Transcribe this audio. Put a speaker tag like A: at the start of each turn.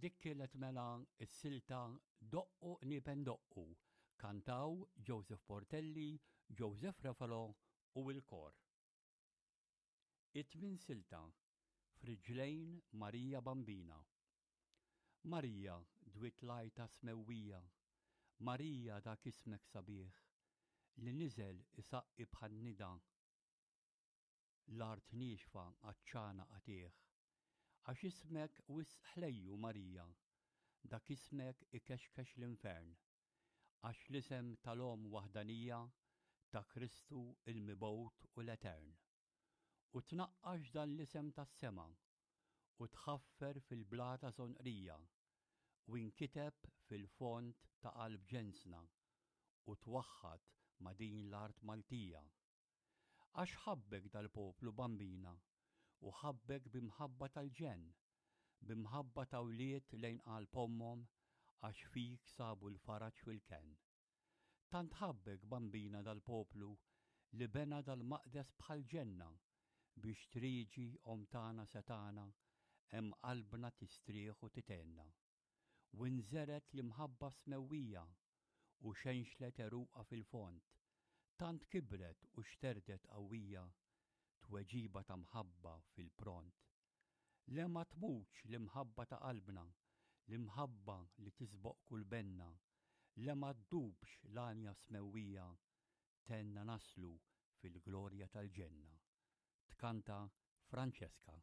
A: Dik kienet mela s-silta Doqqu Qniepen Doqqu, kantaw Joseph Portelli, Joseph Refalo u l-kor. It-tmien silta, F'riġlejn Marija Bambina. Marija dwiet l-għajta smewwija, Marija dak ismek sabiħ, li niżel isaqqi bħan-nida, L-art niexfa għatxana qatigħ. Għax ismek wisq ħlejju, Marija, Dak ismek ikexkex l-infern. Għax l-isem tal-Omm waħdanija Ta' Kristu il-Mibgħut u l-Etern. U tnaqqax dan l-isem tas-sema, U tħaffer fil-blata żonqrija, U inkiteb fil-fond ta' qalb ġensna, U twaħħad ma' din l-art Maltija. Għax ħabbek dal-poplu, Bambina, u ħabbek bi mħabba tal-ġenn, bi mħabba ta' wlied lejn qalb ommhom għax fik sabu l-faraġ u l-kenn. Tant ħabbek, Bambina, dal-poplu li bena dal-maqdes bħal ġenna biex trieġi Omm tagħna setgħana hemm qalbna tistrieħ u tithenna. U nżergħet l-imħabba smewwija u xenxlet għeruqha fil-fond, tant kibret u xterdet qawwija, tweġiba ta' mħabba fil-pront. Le ma tmutx l-imħabba ta' qalbna, l-imħabba li tisboq kull benna, le ma ddubx l-għanja smewwija, tgħinna naslu fil-glorja tal-ġenna. Tkanta Francesca.